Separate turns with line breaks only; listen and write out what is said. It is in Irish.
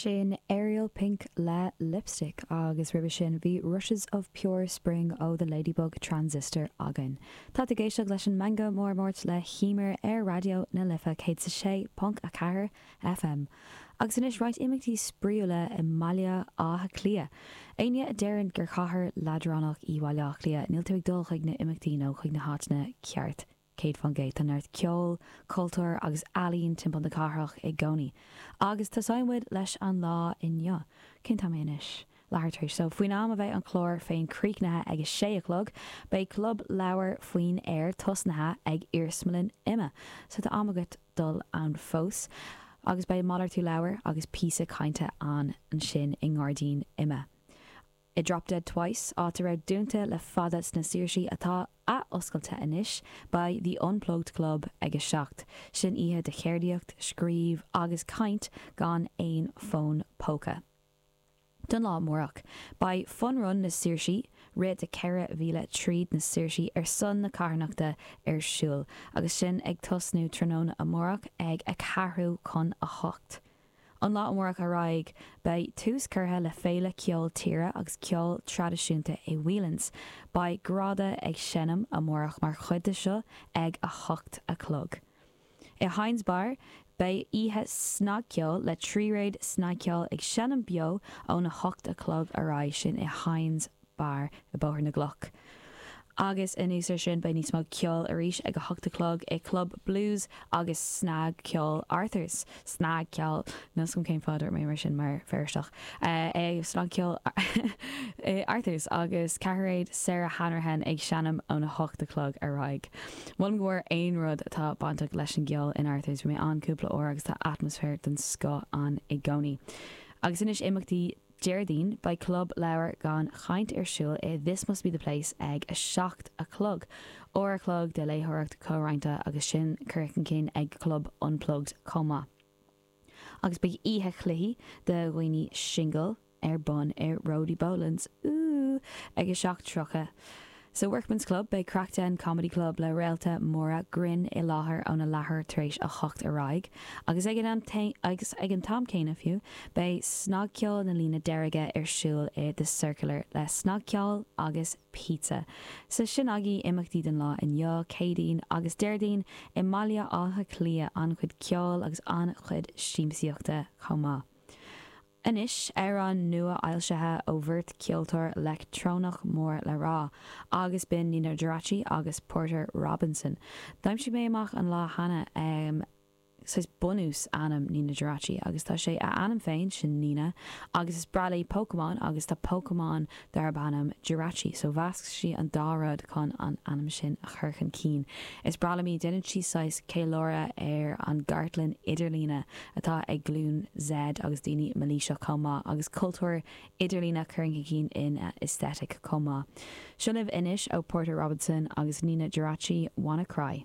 Sin Ariel Pink le Lipstick agus roimhe sin bhí Rushes of Pure Spring ó The Ladybug Transistor againn. Tá tú ag éisteacht leis an Meangadh Mór Máirt le hEmer ar Raidió na Life 106.4 FM. Agus anois roinnt imeachtaí spraíúla i mBaile Átha Cliath. Éinne a deireann gur chathair leadránach í Baile Átha Cliath, níl tú ag dul chuig na imeachtaí nó chuig na háiteanna ceart. 100%. Tá neart ceoil, cultúir agus ealaín timpeall na cathrach i gcónaí. Agus tosóidh muid leis an lá inniu. Cén t-am é anois? Leathuair tar éis. So, faoin am a bheidh an clár féin críochnaithe ag a sé a chlog, beidh Club Leabhar faoin Aer tosnaithe ag Iarsmalann IMMA. So tá am agat dul ann fós. Agus beidh malartú leabhar agus píosa cainte ann ansin i ngairdín IMMA. I Drop Dead Twice, áit a raibh dúnta le fada sna Saoirsí atá ath-oscailte anois, beidh The Unplugged Club ag 7. Sin oíche de cheardaíocht, scríobh agus caint gan aon fón póca. Don lá amárach, beidh Fun Run na Saoirsí, rith de 4 mhíle tríd na Saoirsí ar son na carthanachta ar siúl, agus sin ag tosnú tráthnóna amárach ag a ceathrú chun a hocht. Ón lá amárach ar aghaidh, beidh tús curtha le féile ceol tíre agus ceol traidisiúnta i Whelan's. Beidh Grada ag seinm amárach mar chuid de seo ag 8 a chlog. I Hynes Bar, beidh oíche snagcheoil le tríréad snagcheoil ag seinm beo ón 8 a chlog ar aghaidh, sin i Hynes Bar i Bóthar na gCloch. Agus anuas ar sin beidh níos mó ceoil arís ag 8 a chlog i Club Blues agus Snagcheoil Arthur's. Snagcheoil, níl 's agam cén fáth a dúirt mé mar sin mar Feirsteach. Ag Snagcheoil Arthur's agus ceathairéad Sarah Hanrahan ag seinm ón 8 a chlog ar aghaidh. Molaim go mór aon rud atá bainteach leis an gceol in Arthur's, bhí mé ann cúpla uair agus tá atmaisféar den scoth ann i gcónaí. Agus anois imeachtaí Déardaoin, beidh Club Leabhar gan Chaint ar siúl i This Must Be The Place ag 7 a chlog. Uair a chlog de léitheoireacht comhroinnte agus sin curtha chun cinn ag Club Unplugged chomh maith. Agus beidh oíche chluichí do dhaoine singil ar bun i Roddy Boland's, ooh, ag 7:30. Sa Workman's Club, beidh Craic Den Comedy Club le réalta móra grinn i láthair óna leathuair tar éis a hocht ar aghaidh, agus ag an am agus ag an t-am céanna fiú, beidh Snagcheol na Líne Deirge ar siúl i The Circular le snagcheol agus pizza. So sin agaibh imeachtaí don lá inniu, Céadaoin agus Déardaoin, i mBaile Átha Cliath, an-chuid ceoil agus an-chuid siamsaíochta chomh maith. Anois, amhrán nua-fhoilsithe ó bheirt cheoltóir leictreonach mór le rá, agus b'in Nina Geraci agus Porter Robinson. D'aimsigh mé amach an lá cheana saghas bunús ainm Nina Geraci agus tá sé a ainm féin, sin Nina, agus is breá léi Pokémon agus tá Pokémon darb ainm Jirachi, so mheasc sí an dá rud chun an ainm sin a chur chun cinn. Is breá liom í, déanann sí saghas ceiliúradh ar an gcartlann idirlíne atá ag glúin Z agus daoine mailíseach chomh maith, agus cultúr idirlíne curtha chun cinn ina aesthetic chomh maith. Seo libh anois ó Porter Robinson agus Nina Geraci, Wanna Cry.